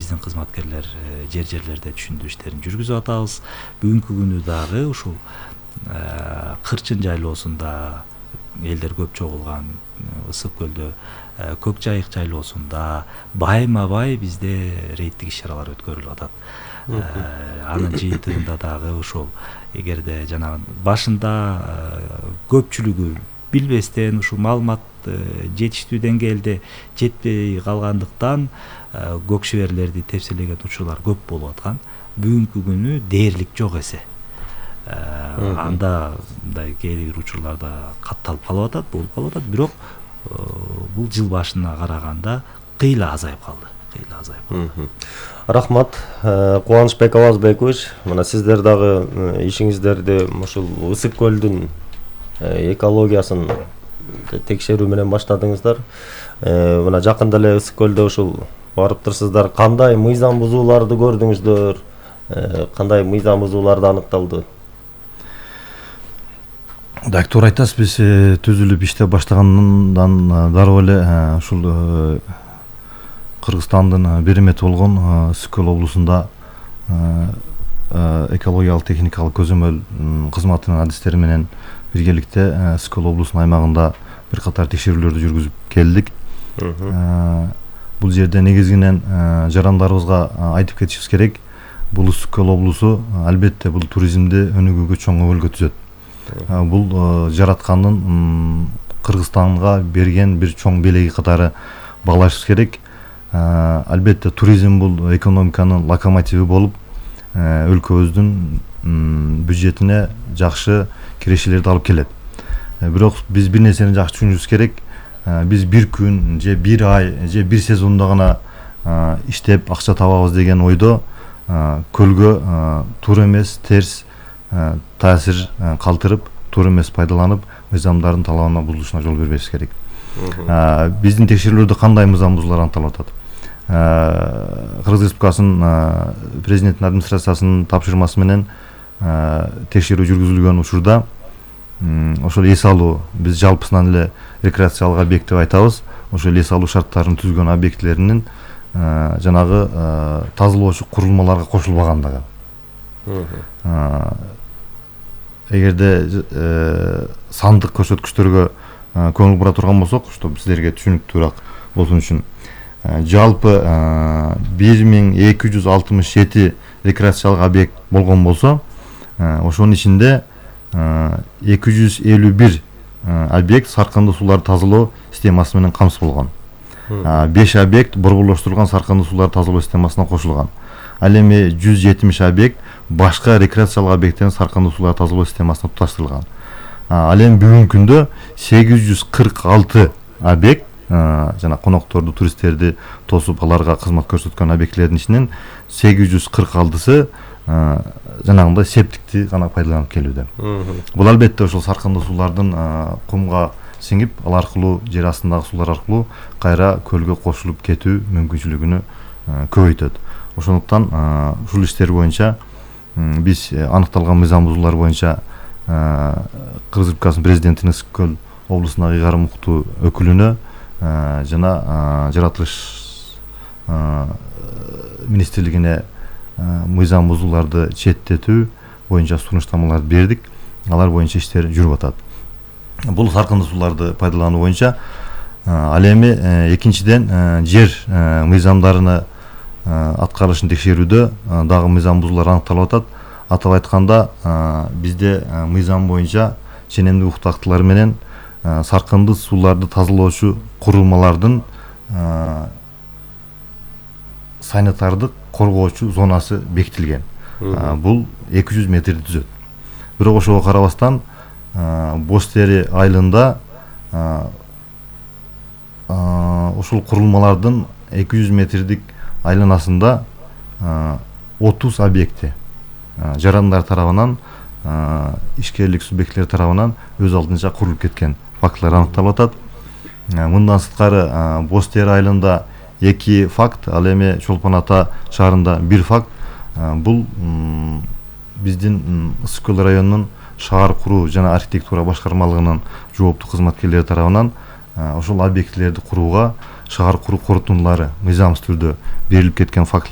биздин кызматкерлер жерлерде түшүндүрүү иштерин жүргүзүп атабыз. Бүгүнкү күнү дагы ушул Кырчын жайлоосунда элдер көп чогулган Ысык көлдө Көк Жайык жайлоосунда байма бай бизде рейдтик иш-чаралар өткөрүлүп атат. Анын жыйынтыгында дагы ошол эгерде жанагы башында көпчүлүгү билбестен ушул маалымат жетиштүү деңгээлде жетпей калгандыктан көк шеберлерди тепселеген учурлар көп болуп аткан. Бүгүнкү күнү дээрлик жок эсе. Анда мындай кээ бир учурларда катталып калып атат, болуп калып атат, бирок бул жыл башына караганда кыйла азайып калды. Рахмат, Кубанычбек Авазбекович. Мына сиздер дагы ишиңиздерди ушул Ысык көлдүн экологиясын текшерүү менен баштадыңыздар. Мына жакында эле Ысык көлдө ушул барыптырсыздар. Кандай мыйзам бузууларды көрдүңүздөр? Кандай мыйзам бузууларды аныкталды? Так, туура айтасыз. Биз түзүлүп иштеп баштагандан дароо эле ушул Кыргызстандын беремети болгон Ысык көл облусунда экологиялык техникалык көзөмөл кызматынын адистери менен биргеликте Ысык көл облусунун аймагында бир катар текшерүүлөрдү жүргүзүп келдик. Бул жерде негизинен жарандарыбызга айтып кетишибиз керек. Бул Ысык көл облусу албетте бул туризмди өнүгүүгө чоң өбөлгө түзөт. Бул жараткандын Кыргызстанга берген бир чоң белеги катары баглашыбыз керек. Албетте туризм бул экономиканын локомотиви болуп, өлкөбүздүн бюджетине жакшы кирешелерди алып келет. Бирок биз бир нерсени жакшы түшүнүшүбүз керек. Биз бир күн же бир ай же бир сезондо гана иштеп акча табабыз деген ойдо көлгө туура эмес, терс таасир калтырып, туура эмес пайдаланып, мыйзамдардын талабына бузулушуна жол бербешибиз керек. Биздин текшерүүлөрдө кандай мыйзам бузуулар аныкталып атат? Кыргыз Республикасынын президенттин администрациясынын тапшырмасы менен текшерүү жүргүзүлгөн учурда ошол эс алуу, биз жалпысынан эле рекреациялык объект деп айтабыз. Ошол эс алуу шарттарын түзгөн объектилеринин жанагы тазалоочу курулмаларга кошулбагандыгы. Эгерде сандык көрсөткүчтөргө көңүл бура турган болсок, чтобы силерге түшүнүктүүрөөк болсун үчүн, жалпы 1267 рекреациялык объект болгон болсо, ошонун ичинде 251 объект саркындуу сууларды тазалоо системасы менен камсыз болгон. 5 объект борборлоштурулган саркындуу сууларды тазалоо системасына кошулган. Ал эми 170 объект башка рекреациялык объекттердин саркындуу сууларды тазалоо системасына туташтырылган. Ал эми бүгүнкү күндө 846 объект жана конокторду, туристтерди тосуп аларга кызмат көрсөткөн объектилердин ичинен 846сы жанагындай септикти гана пайдаланып келүүдө. Бул албетте ошол саркындуу суулардын кумга сиңип, ал аркылуу жер астындагы суулар аркылуу кайра көлгө кошулуп кетүү мүмкүнчүлүгүнү көбөйтөт. Ошондуктан ушул иштер боюнча биз аныкталган мыйзам бузуулар боюнча Кыргыз Республикасынын президентинин Ысык көл облусундагы ыйгарым уктуу өкүлүнө жана жаратылыш министрлигине мыйзам бузууларды четтетүү боюнча сунуштамаларды бердик. Алар боюнча иштер жүрүп атат. Бул саркындуу сууларды пайдалануу боюнча ал эми экинчиден жер мыйзамдарыны аткарылышын текшерүүдө дагы мыйзам бузуулар аныкталып атат. Атап айтканда, бизде мыйзам боюнча ченемдик укук актылары менен саркындуу сууларды тазалоочу курулмалардын санитардык коргоочу зонасы бекитилген. Бул 200 метрди түзөт. Бирок ошого карабастан Боз Тери айылында ушул курулмалардын 200 метрдик айланасында 30 объекти жарандар тарабынан, ишкерлик субъектилер тарабынан өз алдынча курулуп кеткен фактылар аныкталып атат. Мындан сырткары Боз Тери айылында 2 факт, ал эми Чолпон Ата шаарында 1 факт. Бул биздин Ысык көл районунун шаар куруу жана архитектура башкармалыгынын жооптуу кызматкерлери тарабынан ошол объектилерди курууга шаар куруу корутундулары мыйзамсыз түрдө берилип кеткен фактылар